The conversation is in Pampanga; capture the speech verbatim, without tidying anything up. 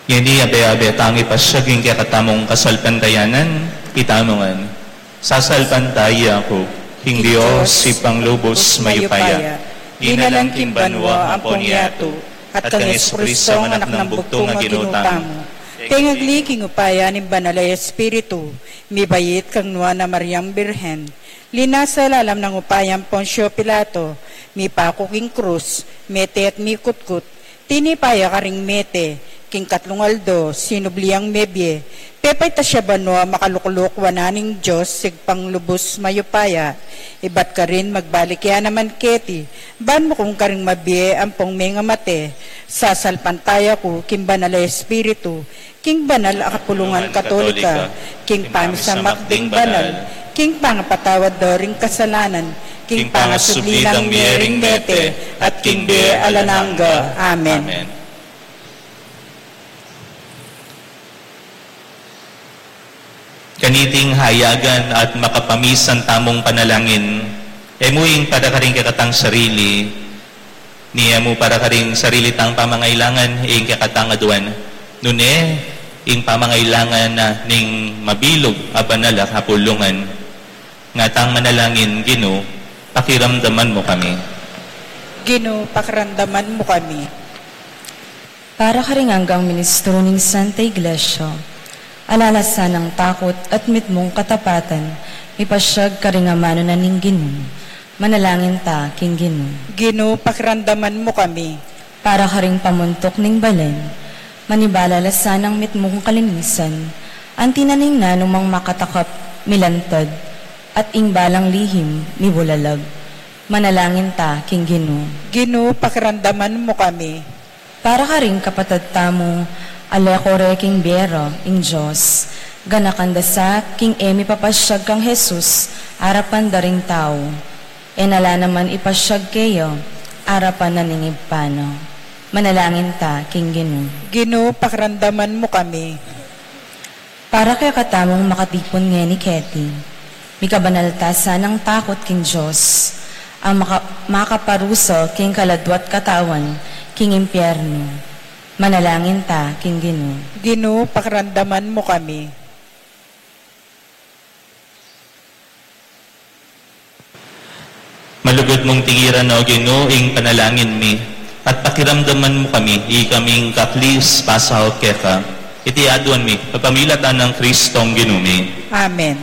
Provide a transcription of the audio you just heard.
Ngeni abe-abe tang ipasiag ing kekatamung kasalpantayanan, itamu ngan. Sasalpantaya ku king Dios, Ibpang lubus mayupaya, linalang king banua ampon yatu, at kang Jesucristo, anak nang bugtung a Ginu tamu. Tengagli king upaya ning Banal a Espiritu, mibait kang Nuan a Mariang Birhen, linasa lalam nang upayang Poncio Pilato, mipaku king krus, mete at mikutkut, tinipa ya karing mete, king katlung aldo, sinubli yang mebie, pepaitas ya banua, makalukluk wanan ning Dios, Ibpang lubus mayupaya, ibat karin magbalik ya naman keti, ban mukung karing mabie ampong mengamate, sasalpantaya ku king Banal a Espiritu, king banal a kapulungan Katolika, king pamisamak ding banal, king pangapatawad da ring kasalanan, king pangasubli dang mie ring mete, at king bie alang angga. Amen. Kaniting hayagan at makapamisan tamung panalangin, e mu ing para karing kekatang sarili, ni e mu para karing sarili tang pamangailangan, ing kekatang aduan. Nune, ing pamangailangan na ning mabilug a banal a kapulungan. Nga tang manalangin, Ginu, pakiramdaman mu kami. Ginu, pakiramdaman mu kami. Para karing anggang ministro ning Santa Iglesia, alalasan nang takut at mitmung katapatan, mipasiag karing amanu na ning Ginu. Manalangin ta king Ginu. Ginu, pakiramdaman mu kami. Para karing pamuntuk ning balen, manibala la sanang mitmung kalinisan, anti na ning nanumang makatakap, milantad, at ing balang lihim, mibulalag. Manalangin ta king Ginu. Ginu, pakiramdaman mu kami. Para karing kapatad tamu a leko re king bie ra, ing Dios, ganakan da sa king e mipapasiag kang Jesus arapan da ring tau, e na la naman ipasiag keya arapan na ning Ibpa na. Manalangin ta king Ginu. Ginu, pakiramdaman mu kami. Para kekatamung makatipun ngeni keti, mikabanal ta sanang takut king Dios, a maka-, makaparusa king kaladwa't katawan king impyernu. Manalangin ta king Ginu. Ginu, pakiramdaman mu kami. Malugud mung tingiran, O Ginu, ing panalangin mi, at pakiramdaman mu kami, ikaming kaklis pasaup keka. Iti aduan mi kapamilatan nang Kristong Ginu mi. Amen.